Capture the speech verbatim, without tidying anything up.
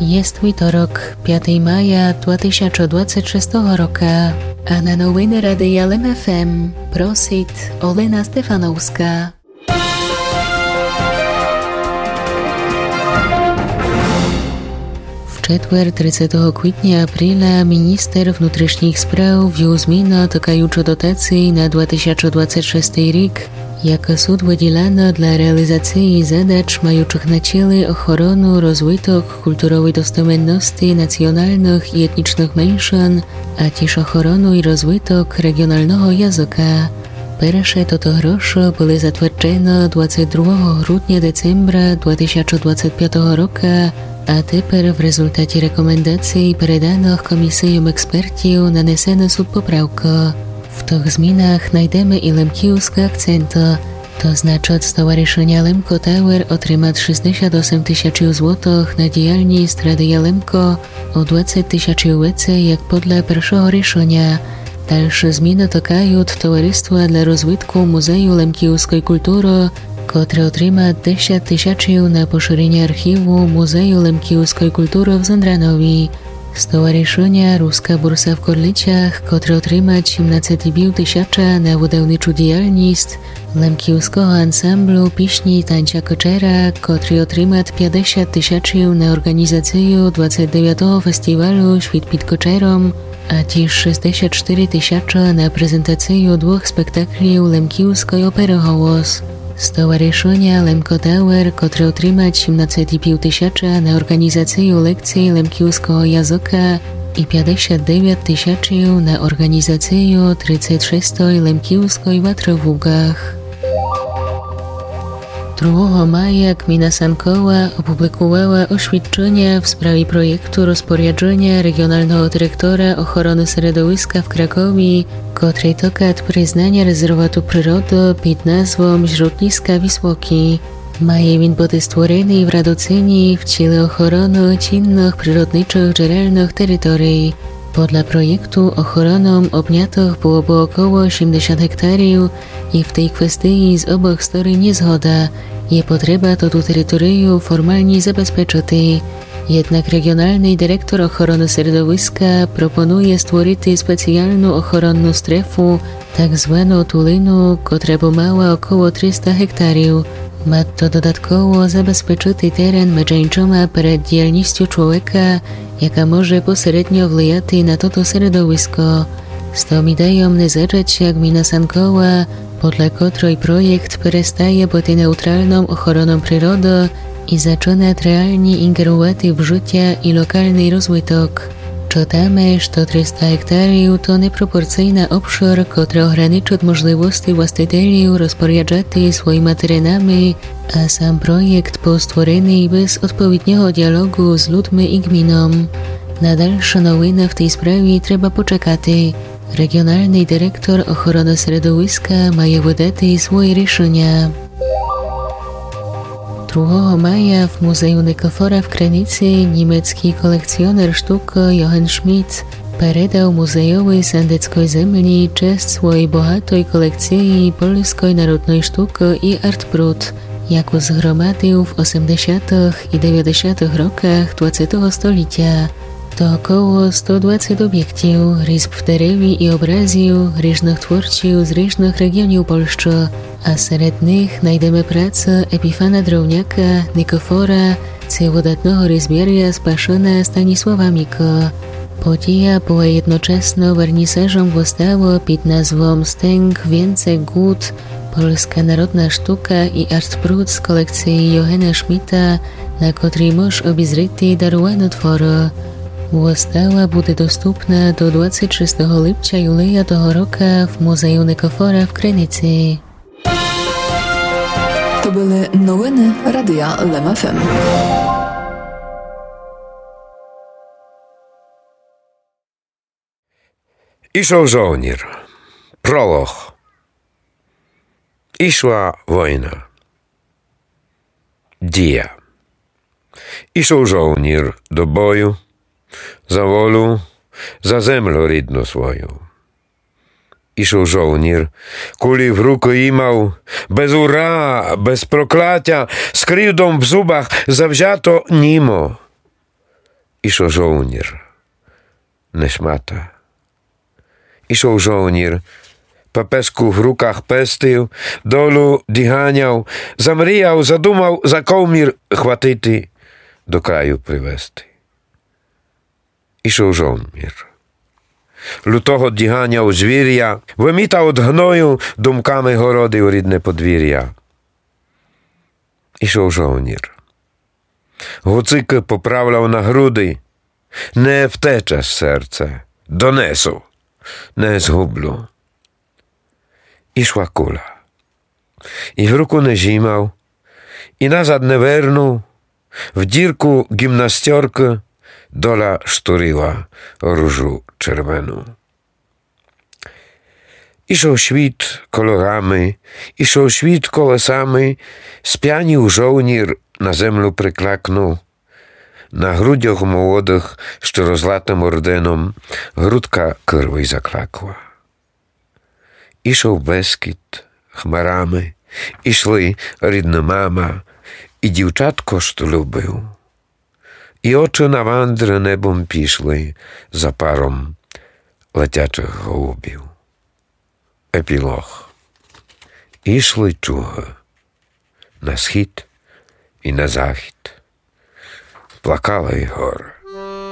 Єст вівторок, пятого мая два тисячы двадцять шестого рока. А на новины Радия Лем ФМ просит Олена Стефановска. В четвер, тридцятого квітня, апріля, міністер внутрішніх справ ввів зміну, тыкаючы дотацій на два тисячы двадцять шестый рік, якы сут выділяны для реалізації задач, маючых на цілі охорону, розвиток, культуровій достовменности націоналных і етнічных меншын, а тіж охорону і розвиток реґіоналного языка. Перше тото грошы были затверджены двадцять другого грудня, децембра два тисячы двадцять пятого рока, а тепер в результаті рекомендацій, переданых комісийом експертів, нанесены сут поправкы. В тых змінах найдеме і лемківскы акценты. То значыт, стоваришыня Лемко Тауер отримат шістдесят осем тисячів злотых на діяльніст Радия Лемко, о двадцять тисячів веце, як подля першого рішыня. Дальшы зміны тыкают Товариства для розвитку музею лемківской культуры, котре отримат десят тисячів на пошыреня архіву Музею лемківской культуры в Зындранові. Стоваришыня Руска бурса в Корлицях, котре отримат сімнадцет і пів тисяча на выдавничу діяльніст лемківского ансамблю пісні Танця Кычера, котрий отримат пятдесят тисячів на орґанізацию двадцет девятого фестівалю Світ під Кычером, а тіж шістдесят штыри тисячы на презентацию двох спектаклів лемківской оперы Голос. Стоваришыня Лемко Тауер, котре отримат сімнадцет і пів тисяча на орґанізацию лекций лемківского языка і пятдесят девят тисячів на орґанізацию тридцет шестой лемківской ватры в Луґах. Другого мая ґміна Санкова опубликувала освідчыня в справі проєкту розпоряджыня реґіоналного директора охороны середовиска в Кракові, котрий тыкат признаня резервату природы під назвом Жрутниска Віслокі. Має він быти створеный в Радоцинї в ціле охороны цінных природничых джерелных територій. Подля проєкту охороном обнятых было бы около сімдесят гектарів, і в тій квестиї з обох сторін є згода. Є потреба тоту територию формалні забезпечыти. Єднак реґіоналный директор охороны середовиска пропонує створити спеціалну охоронну стрефу, так звану тулину, котра бы мала около триста гектарів. Мат то додатково забезпечыти терен медженчома перед діяльністю чловека, яка може посередньо влияти на тото середовиско. З тым ідейом не згадзат ся ґміна Санкова, подля котрой проєкт перестає быти неутралным охороном природы і зачынат реалні інґерувати в жытя і локалный розвиток. Чытаме, што триста гектарів то непропорцийна обшыр, котра ограничыт можливости властителів розпоряджати своїма теренами, а сам проєкт быв створеный без одповідного діалоґу з людми і ґміном. На дальшы новины в тій справі треба почекати. Реґіоналный директор охороны середовиска має выдати свої рішыня. Другого мая в музею Никифора в Криниці німецкій колекціонер штукы Йоген Шмідт передав музейови сандецкой землї чесц своєй богатой колекциї польской народной штукы і арт-пруд, яку зґромадив в осемдесятых і девятдесятых роках двадцятого столітя. То около сто двадцет обєктів, різб в дереві і образів ріжных творців з ріжных реґіонів Польщы, а серед них найдеме працы Епіфана Дровняка, Никифора, ци выдатного різбяря з Пашына Станіслава Мікы. Подія была єдночасно вернісажом выставы під назвом Стенк, вінцек, ґут, польска народна штука і арт-пруд з колекциї Йогена Шмідта, на котрій мож обізріти даруваны творы. Выстава буде доступна до двадцет шестого липця юлія того рока в музею Никифора в Криниці. То были новины Радия Лем ФМ. Ішов жовнір. Пролог. Ішла война. Дія. Ішов жовнір до бою за волю, за землю рідну свою. Ішов жовнір, кулі в рукы имав, без ура, без проклятя, з кривдом в зубах, завзято, німо. Ішов жовнір. Не шмата. Ішов жовнір. Пепеску в руках пестив, долю діганяв, замріяв, задумав за ковмір хватити, до краю привести. Ішов жовнір. Лютого діганяв звіря, вымітав од гною думками городив рідне подвіря. Ішов жовнір. Гуцикы поправляв на груди. Не втече серце, донесу, не згублю. Ішла куля. І в руку не зімав, і назад не вернув, в дірку гімнастьоркы доля штурила ружу червену. Ішов світ кольорами, ішов світ колесами, спянів жовнір, на землю приклакнув. На грудьох молодых, што розлатым орденом, грудка кырвой заклакла. Ішов Бескід хмарами, ішли рідна мама і дівчатко, што любив. І очы на вандры небом пішли за паром летячих голубів. Епілог. Ішли чугы на схід і на захід. Плакала і горы.